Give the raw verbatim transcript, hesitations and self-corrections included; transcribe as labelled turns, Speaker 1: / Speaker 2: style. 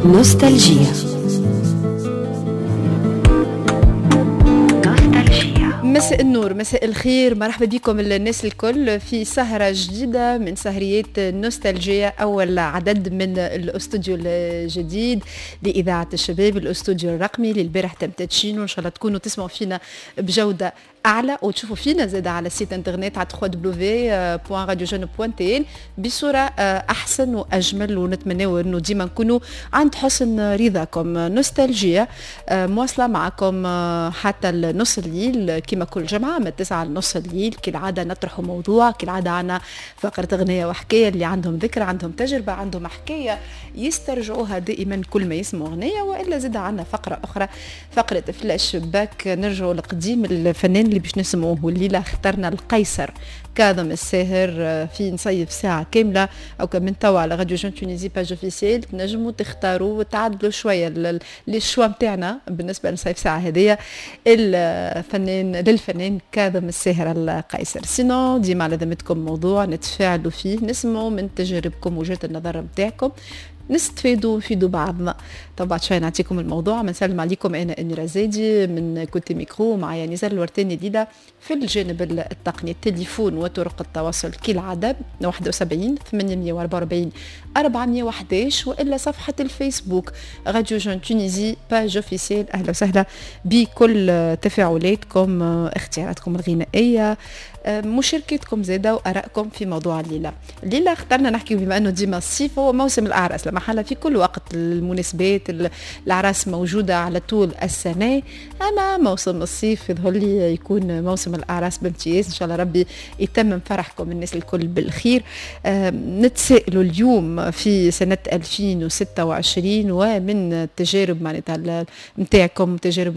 Speaker 1: نوستالجيا.
Speaker 2: مساء النور، مساء الخير، مرحبا بكم الناس الكل في سهرة جديدة من سهريات نوستالجيا، أول عدد من الاستوديو الجديد لإذاعة الشباب، الاستوديو الرقمي اللي البارح تم تدشينه. إن شاء الله تكونوا تسمعوا فينا بجودة أعلى وتشوفوا فينا زاد على site internet على دبليو دبليو دبليو دوت راديو جون دوت تي ان بصورة أحسن وأجمل، ونتمناو أنه ديما نكونوا عند حسن رضاكم. نوستالجيا مواصلة معكم حتى النص الليل كما كل جمعة من تسعة لنص الليل. كالعادة نطرح موضوع، كالعادة عنا فقرة أغنية وحكاية، اللي عندهم ذكرى، عندهم تجربة، عندهم حكاية يسترجعوها دائما كل ما يسمعوا أغنية، وإلا زاد عنا فقرة أخرى، فقرة فلاش باك، نرجعوا لقديم الفنان اللي باش نسمعوه. والليلة اخترنا القيصر كاظم الساهر في نصيف ساعة كاملة أو من توا على راديو جون تونيزي page officielle تنجموا تختاروا وتعدلوا شوية les choix نتاعنا بالنسبة لنصيف ساعة هذيا الفنان للفنان كاظم الساهر القيصر. sinon ديما على ذمتكم موضوع نتفاعلوا فيه، نسمعوا من تجاربكم وجهة النظر نتاعكم، نستفيدوا ونفيدوا بعضنا. طبعا بعد شوي نعطيكم الموضوع. نسلم عليكم انا اميره زايدي من côté micro، معايا نزار الورتاني ليلى في الجانب التقني. التليفون وطرق التواصل كالعادة واحد وسبعين ثمانمية وأربعة وأربعين أربعمية وأحد عشر، والا صفحة الفيسبوك راديو جون تونيزي page officielle. اهلا وسهلا بكل تفاعلاتكم، اختياراتكم الغنائية، مشاركتكم زاده وارائكم في موضوع الليلة. الليلة اخترنا نحكي بما انه ديما الصيف هو موسم الاعراس، لما حلا في كل وقت المناسبات الاعراس موجودة على طول السنة، اما موسم الصيف يظهر لي يكون موسم الاعراس بامتياز. ان شاء الله ربي يتمم فرحكم الناس الكل بالخير. نتسائلوا اليوم في سنة ألفين وستة وعشرين ومن التجارب معناتها نتاعكم، تجارب